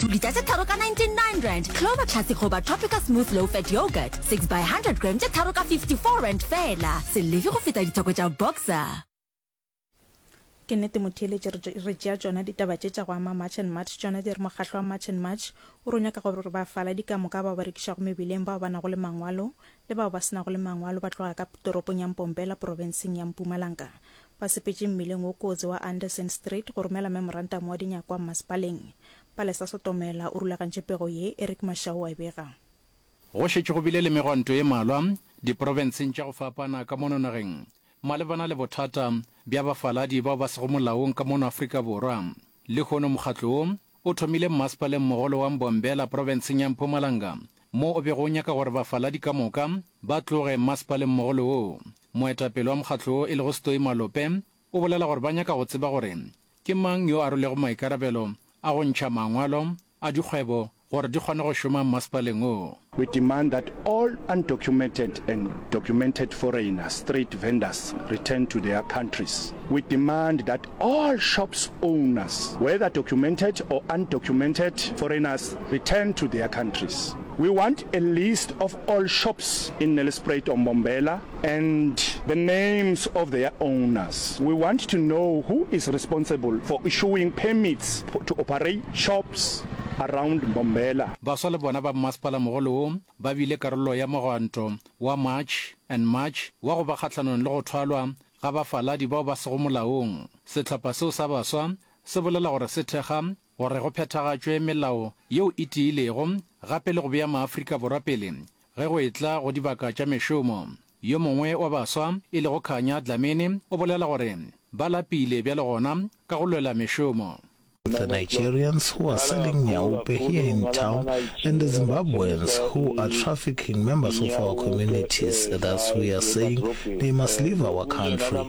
Lita tše tharo ka R99, Clover Classic goba Tropica Smooth Low Fat Yoghurt, 6 by 100 gram tše tharo ka R54 feela. Se lefe go feta ditheko tša Boxer. Ke nnete motheeletši re, re tšea tšona ditaba tše tša go ama March and March tšona di re mokgahlo wa March and March o re o nyaka gore bafaladi ka moka bao ba rekišago mebileng bao ba nago le mangwalo le bao ba se nago le mangwalo ba tloga ka toropong ya Mpompela profenseng ya Mpumalanga ba sepetše mmileng wo kotsi wa Anderson Street go romela memorantamo wa dinyakwa mmasepaleng. Palesa Sotomela o rulagantše pego ye, Eric Mashau wa e bega. Go šetše go bile le megwanto ye malwa diprofenseng tša go fapana ka mono nageng malebana le bothata bja bafaladi bao ba sego molaong ka mono Afrika Borwa. Lehono mokgatlo wo o thomile mmasepaleng mogolo wa Mbombela profenseng ya Mpumalanga mo o bego o nyaka gore bafaladi ka moka ba tloge mmasepaleng mogolo wo. Moetapele wa mokgatlo wo e lego Stoi Malope o bolela gore ba nyaka go tseba gore ke mang yo a rwelego maikarabelo a go ntšha mangwalo a dikgwebo gore di kgone go šoma mmasepaleng wo. We demand that all undocumented and documented foreigner street vendors return to their countries. We demand that all shops owners, whether documented or undocumented foreigners, return to their countries. We want a list of all shops in Nelspruit or Mbombela and the names of their owners. We want to know who is responsible for issuing permits to operate shops around Mbombela. Baswa le bona ba mmasepalamogolo wo ba bile karolo ya mogwanto wa March and March wa go ba kgahlanong le go thwalwa ga bafaladi bao ba sego molaong. Sehlopha seo sa baswa se bolela gore se thekga gore go phethagatšwe melao yeo e tiilego gape le go bea maAfrika Borwa pele ge go etla go dibaka tša mešomo. Yo mongwe wa baswa, e lego Khanya Dlamini, o bolela gore ba lapile bjale gona ka go lwela mešomo. The Nigerians who are selling nyaope here in town and the Zimbabweans who are trafficking members of our communities, thus we are saying they must leave our country.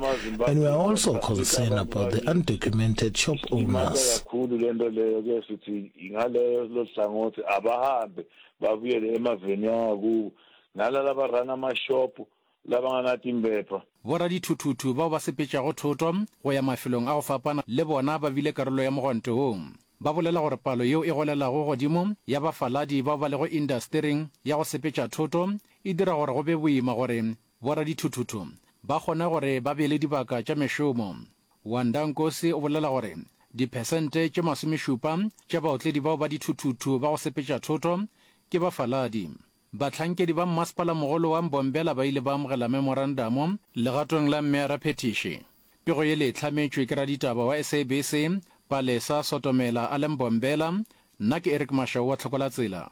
And we are also concerned about the undocumented shop owners. kakhulu lento leyo ke sithi ngaleyo lohlangothi abahambe babuyele emaveni angakubo nalaba barana amashop labanganatimpepha Boradithuthuthu bao ba sepetšago thoto go ya mafelong a go fapana le bona ba bile karolo ya mogwanto wo. Ba bolela gore palo yeo e golelago godimo ya bafaladi bao ba lego indastering ya go sepetša thoto e dira gore go be boima gore boradithuthuthu ba kgone gore ba be le dibaka tša mešomo. Wanda Nkosi o bolela gore diphesente tše masomešupa tša baotledi bao ba dithuthuthu ba go sepetša thoto ke bafaladi. Bahlankedi ba Mmasepalamogolo wa Mbombela ba ile ba amogela memorandamo legatong la Mmeara Phethiši. Pego ye le e hlametšwe ke raditaba wa SABC, Palesa Sotomela a le Mbombela. Nna ke Eric Mashau wa Tlhokolatsela.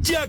Tšea.